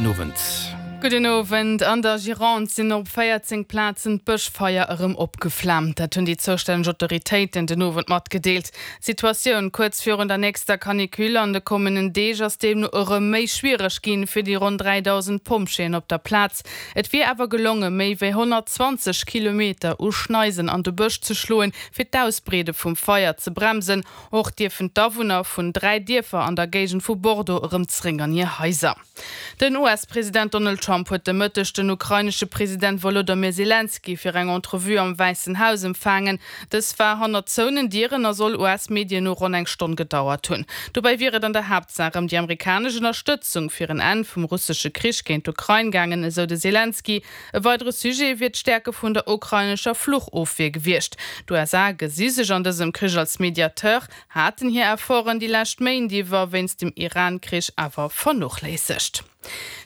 Gudden Owend. Gudden Owend. An der Gironde sinn op 14 Plazen d'Bëschfeier erëm opgeflaamt. Dat hunn déi zoustänneg Autoritéiten den Owend matgedeelt. D'Situatioun kuerz virun der nächster Canicule an de kommenden Deeg ass deemno erëm méi schwiereg ginn fir déi ronn 3.000 Pompjeeën op der Plaz. Et wier awer gelonge méi wéi 120 Kilometer u Schneisen an de Bësch ze schloen, fir d'Ausbreede vum Feier ze bremsen. Och dierfen d'Awunner vun 3 Dierfer an der Géigend vu Bordeaux erëm zeréck an hir Haiser. Den US-President Donald Trump huet de Mëtteg den ukrainesche President Wolodomyr Selenskyj fir eng Entrevue am Wäissen Haus empfaangen. Dës war hannert zouenen Dieren a soll US-Medien no ronn eng Stonn gedauert hunn. Dobäi wier et an der Haaptsaach ëm déi amerikanesch Ënnerstëtzung fir en Enn vum russesche Krich géint d'Ukrain gaangen, esou de Selenskyj. E weidere Sujet wier d'Stäerke vun der ukrainescher Fluchofwier gewiescht. D'USA gesi sech an dësem Krich als Mediateur, haten hir Efforten déi lescht Méint iwwer wéinst dem Iran-Krich awer vernochléissegt.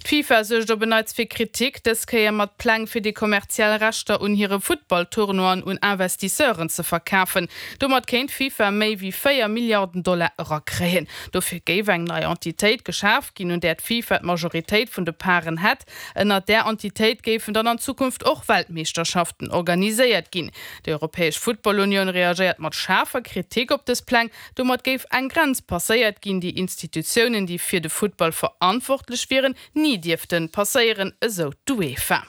D'FIFA suergt op en Neits fir Kritik, dës Kéier mat Pläng fir déi kommerziell Rechter un hire Futtball-Tournoien un Investisseuren ze verkafen. Domat kéint d'FIFA méi wéi 4 Milliarden Dollar erakréien. Dofir géif eng nei Entitéit geschaf ginn, un där d'FIFA d'Majoritéit vun de Paren hätt. Ënnert där Entitéit géifen dann an Zukunft och Weltmeeschterschaften organiséiert ginn. Déi Europäesch Footballunioun reagéiert mat schaarfer Kritik op dës Pläng. Domat géif eng Grenz passéiert ginn, déi Institutiounen, déi fir de Futtball verantwortlech wieren, ni dierfte passéieren, esou d'UEFA.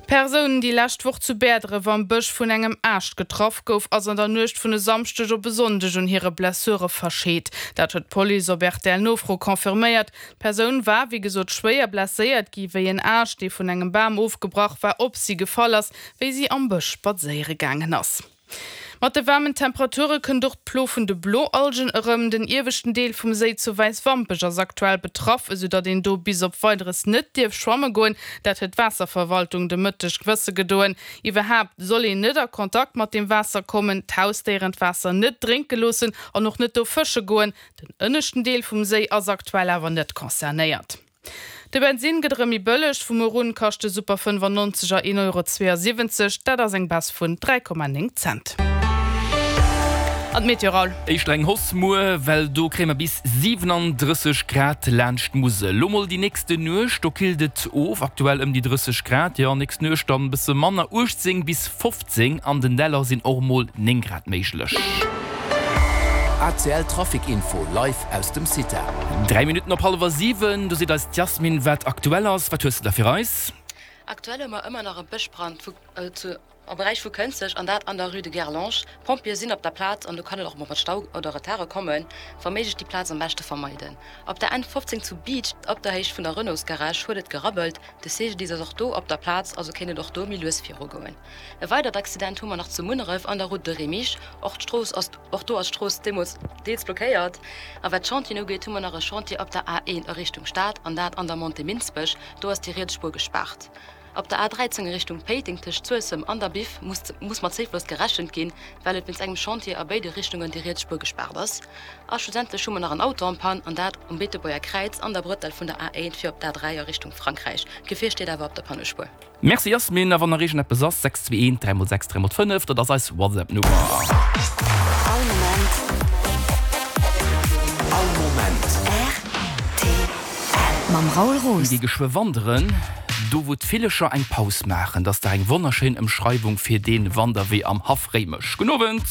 D'Persoun, déi lescht Woch zu Bäerdref am Bësch vun engem Aascht getraff gouf, ass an der Nuecht vun e Samschdeg op e Sonndeg un hire Blessure verscheet. Dat huet d'Police op RTL-Nofro confirméiert. D'Persoun war, wéi gesot, schwéier blesséiert gi wéi en Aascht, dee vun engem Bam ofgebrach war, op si gefall ass, wéi si am Bësch spadséiere gaangen ass. Mat de waarmen Temperature kënnt och d'Plo vun de Bloalgen erëm. Den ieweschten Deel vum Séi zu Wäiswampech ass aktuell betraff, esou datt een do bis op Weideres net dierf schwamme goen. Dat huet d'Waasserverwaltung de Mëtteg wësse gedoen. Iwwerhaapt soll een net a Kontakt mat dem Waasser kommen, d'Hausdéieren d'Waasser net drénke loossen an och net do fësche goen. Den ënneschten Deel vum Séi ass aktuell awer net concernéiert. De Bensinn gëtt erëm méi bëlleg, vu muer un kascht de Super 95 er 1,72 Euro, dat ass eng Baisse vun 3,9 Cent. An d'Meteo, Raoul? Éischter eng Hausse muer, well do kréie mer bis 37 Grad laanscht d'Musel. Lo mol déi nächste Nuecht, do killt et of, aktuell ëm déi 30 Grad, jo nächst Nuecht dann e bësse manner, 18 bis 15, an den Däller sinn och mol 9 Grad méiglech. ACL Trafic Info live aus dem CITA. 3 Minutten op hallwer 7, do seet eis d'Yasmine wat aktuell ass. Wat hues de da fir eis? Aktuell hu mer ëmmer nach e Bëschbrand vu zu am Beräich vu Kënzeg an dat an der Rue de Guerlange. D'Pompjeeë sinn op der Plaz an do kann et och mol mat Stau oder Retarde kommen. Wa méiglech déi Plaz am beschte vermeiden. Op der N 15 zu Biicht op der Héicht vun der Renaultsgarage huet et gerabbelt. De CGDIS ass och do op der Plaz, also kéint et och do méi lues virugoen. E weidert Accident hu mer nach zu Munneref an der Route de Remich. Och d'Strooss ass och do ass d'Strooss deemools deels blockéiert. A wat d'Chantieren ugeet, hu mer nach e Chantier op der A1 a Richtung Stad, an dat an der Montée Minsbech. Do ass déi riets Spuer gespaart. Op der A13 a Richtung Péiteng tëscht Suessem an der Biff muss muss mat Zéifloss gerechent ginn, well et wéinst engem Chantier a béide Richtungen déi riets Spuer gespaart ass. A schlussendlech hu mer nach en Auto en panne, an dat um Beetebuerger Kräiz an der Brëttel vun der A1 fir op d'A3 a Richtung Frankräich. D'Gefier steet awer op der Pannespuer. Merci Yasmine, a wann nach iergendeppes ass, 621 3 x 6 3 x 5, dat ass eis WhatsApp Nummer. All Moment. All Moment. Rtl. Mam Raoul Roos. Mir gi geschwë wanderen, do wou d'Villecher eng Paus maachen. Dat ass dach eng wonnerschéin Ëmschreiwung fir dee Wanderwee am Haff Réimech. Gudden Owend.